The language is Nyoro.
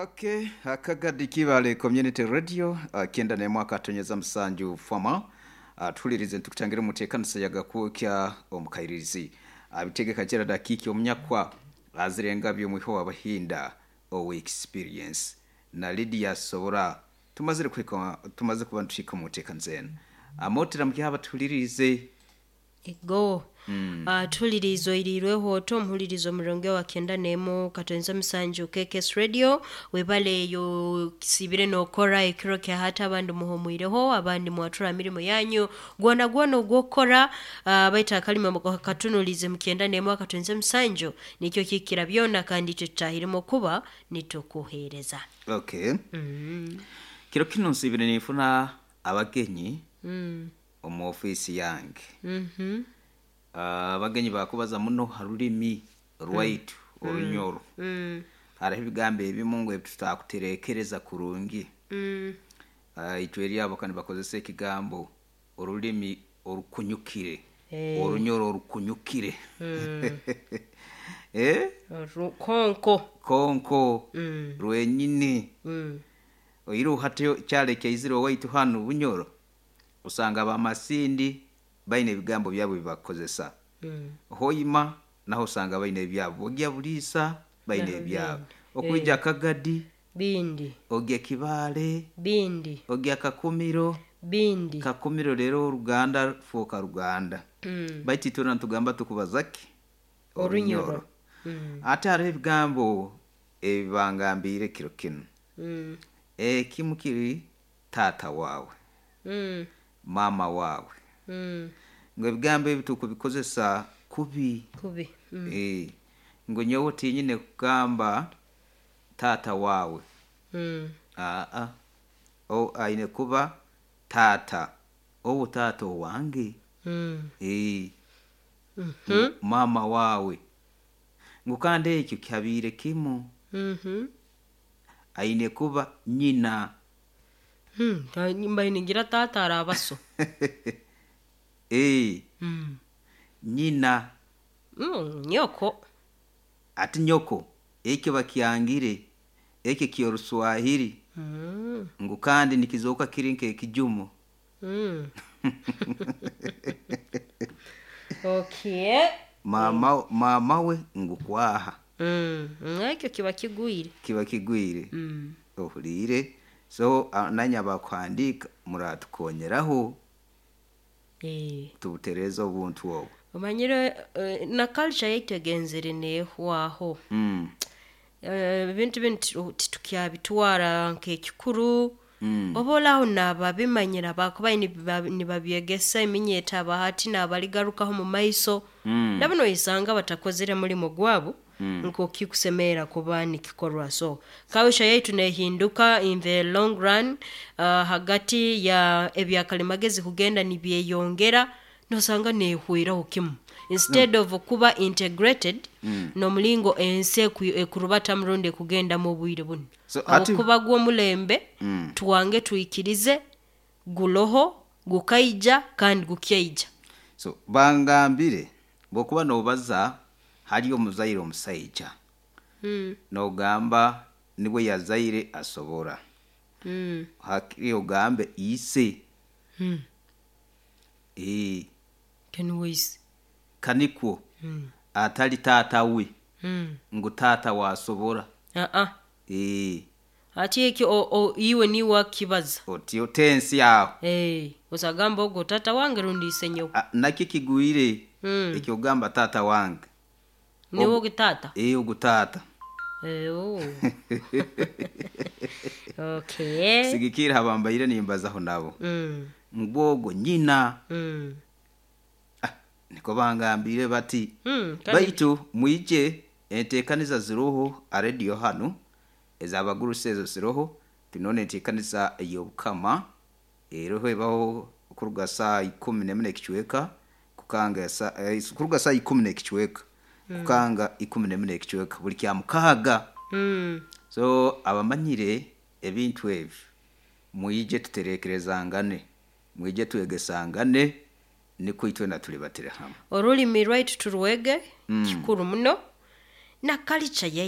Okay, akagadi kibale community radio 91.7 fama tuhulirize ntukutangira umutekanisa yagakwokya omukairirizi abitegeka kera dakiki omunyakwa azirenga byomwiho wabahinda owe experience na Lydia Sobora tumazire kwika tumaze kuba ntushika umutekanisa eno amotera mukyaba tuhulirize Ego. Tuhulirizo irirweho oto omuhulirizo omurongo wa 91.7 KKS Radio webale eyo kisibire nokora ekiro kya hata abandi muhumwireho abandi mwatura mirimo yanyu gwona gwona ogwokora baita akalima katunulize mu 91.7 nikyo kikira byona kandi icyo tutahirimo kuba nitukuhereza. Okay. Kiro kino nsibire nifuna abagenyi omu ofisi yange. Abagenyi bakubaza muno ha rulimi rwaitu orunyoro. Hariho ebigambo ebimu ngu ebi tutakuterekereza kurungi. Itwe eri abo kandi bakozesa ekigambo orulimi orukunyukire. Orunyoro orukunyukire. Eh? Konko. Konko. Rwenyini. Oiru hati kyale kyaizire owaitu hanu Bunyoro osanga abamasindi baine ebigambo byabo bibakozesa. Hoima naho osanga baine ebyabo. Ogya Buliisa baine ebyabo. Okwija Kagadi Bindi. ogya Kibaale Bindi. ogya Kakumiro. Bindi. Kakumiro rero Ruganda fooka Ruganda. Baitu itwe nitugamba tukubaza ki? Orunyoro. Ate hariho ebigambo ebibangambiire kiro kinu. Ekimu kiri taata waawe, maama waawe. Ngu ebigambo ebi tukubikozesa kubi. Kubi. Ngu nyowe tinyine kugamba taata waawe. Aa. O aine kuba taata. Obu taata owange. Maama waawe. Ngu kandi ekyo kyabiire kimu. Aine kuba nyina. Mbaire ningira taata arabaso. Nyina. Nyoko. Ati nyoko ekyo bakyangire ekyo kyoruswahili. Ngu kandi nikizooka kiri nk'ekijumo. Okay. Mama we ngu kwaha. Ekyo kiba kigwire. Kiba kigwire. Ohuliire. So nanye abakuhandiika muratukonyeraho. Tubutereeze obuntu obwo. Omanyire na culture yaitu egenzere neehwaho. Ebintu binu titukyabitwara nk'ekikuru. Oba olaho naababimanyira bakubaire nibabyegesa eminyeeto abahati n'abaligarukaho mu maiso. Nabo noisanga batakozere mulimo gwabo nk'okikusemerra kuba nikikorwa. So culture yaitu neehinduka in the long run hagati ya ebyakalimagezi kugenda nibyeyongera nosanga neehweraho kimu. Instead of kuba integrated n'omulingo ensi ekurubatamu rundi ekugendamu obwire bunu. So, hati Habwokuba gw'omulembe twange twikirize guroho gukaija kandi gukyaija. So bangambire bw'okuba noobaza hali omuzaire omusaija noogamba nibwe yazaire asobora. Hakiri ogambe ise. Niwe ise. Kanikwo atali taata we ngu taata waasobora. Hati ekyo iwe niiwe wakibaza. Oti otensi aho. Osagamba ogu taata wange rundi ise nyowe. Nakyo kigwire ekyogamba taata wange. Niwe ogu taata? Ogu taata. Okay. Sigikira habambaire nimbazaho nabo. Ngu ogwo nyina. Niko bangambire bati. Baitu mwije enteekaniza ziroho ha radio hanu ez'abagurusi ezo ziroho tinone enteekaniza ey'obukama eroho ebaho kuruga saa 11 n'ekicweka kukanga kuruga saa 10 n'ekicweka kukanga 11 n'ekicweka buli kya mukaaga. So abamanyire ebintu ebi mwije tuterekerezangane mwije twegesangane nikwo itwena tulibatire hamwe. Orulimi rwaitu turwege kikuru muno na culture yaitu.